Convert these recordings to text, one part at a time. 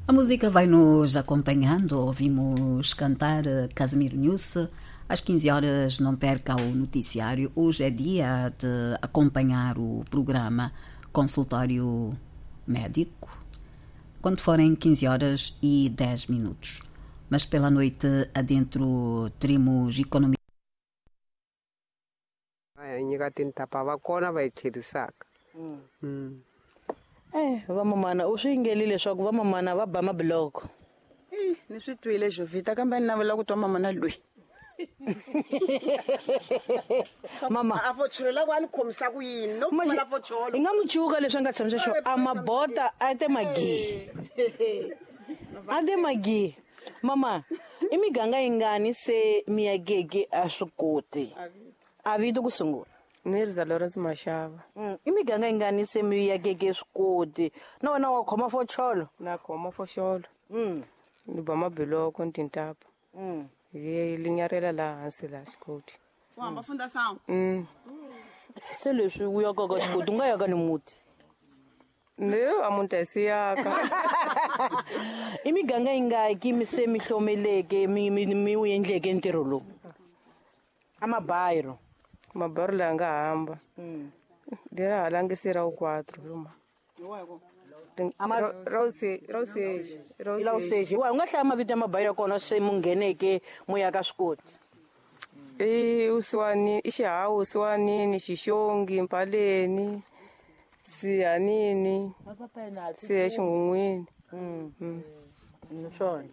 A música vai nos acompanhando, ouvimos cantar Casimiro Nhusse. Às 15 horas não perca o noticiário. Hoje é dia de acompanhar o programa Consultório Médico, quando forem 15 horas e 10 minutos. Mas pela noite adentro teremos economia. Va nyika tintapa va kona va yi tlherisaka. Vamamana u swi yingelile leswaku vamamana va ba mabiloko. Ni swi twile, Jovita, kambe ni navela ku twa mamana loyi. Mama. A focholo la ku a ni khomisa ku yini no pfumala focholo. Hi nga mu cuka leswi a nga tshamisa xo a mabota a te magi. A te magi. Mama, i miganga yingani se mi yakeke a swi koti? A vito ku sungula. Ni ri za Lawrence Mashava. I miganga yingani se mi yakeke swi koti? Na wena wa khoma focholo? Na khoma foxolo. Ni ba mabiloko ni tintapa. Hi linyarela laha hansi laha xikoti. U hamba funda sangu. Se leswi u yakaka xikoti u nga yaka ni muti. Ni a munhu a siyaka. I miganga yingaki mi se mi hlomeleke mi wu endleke ntirho lowu? A mabayiro. Mabayiro laha nga hamba. Leri halangisi ra wu 4 ruma. Rauseji. Wa u nga hlaya mavito ya mabayiro ya kona se mu ngheneke mu ya ka swikoti? I Usiwani, i Xihawu, Usiwanini, Xixongi, Mpaleni, Sihanini, Siya Xinghunghwini. Swona.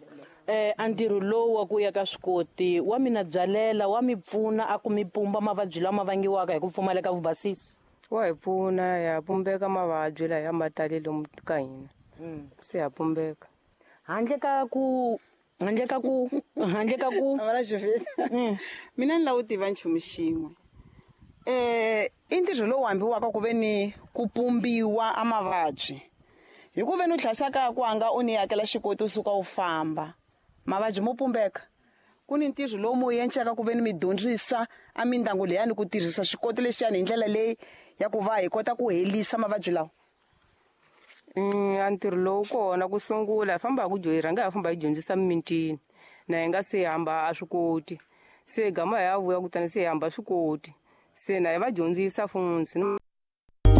A ntirho lowu wa ku ya ka swikoti wa mina byalela, wa mi pfuna a ku mi pumba mavabyi lama vangiwaka hi ku pfumaleka vubasisi? Wa hi pfuna, ya pumbeka mavabyi laha ya ma tali lomu ka hina. Se ya pumbeka. Handle ka ku, handle ka ku, handle ka ku. Mama Jovita. Mina ni lava ku tiva nchumu xin'we. I ntirho lowu hambiwaka ku ve ni ku pumbiwa a mavabyi. Hi ku ve ni u hlayisaka ku anga u ni hakela xikoti u suka u famba. Mavabyi mo pumbeka. Ku ni ntirho lowu mu endlaka ku ve ni mi dyondzisa a mindyangu leyani ku tirhisa xikoti lexiyani hi ndlela leyi ya ku va hi kota ku helisa mavabyi lawa. A ntirho lowu kona ku sungula hi famba hi ku hi rhanga hi famba hi dyondzisa mimitini na hi nga se hamba a swi koti. Se gama hi ya vuya kutani se hi hamba swi koti. Se na hi va dyondzisa funtsi.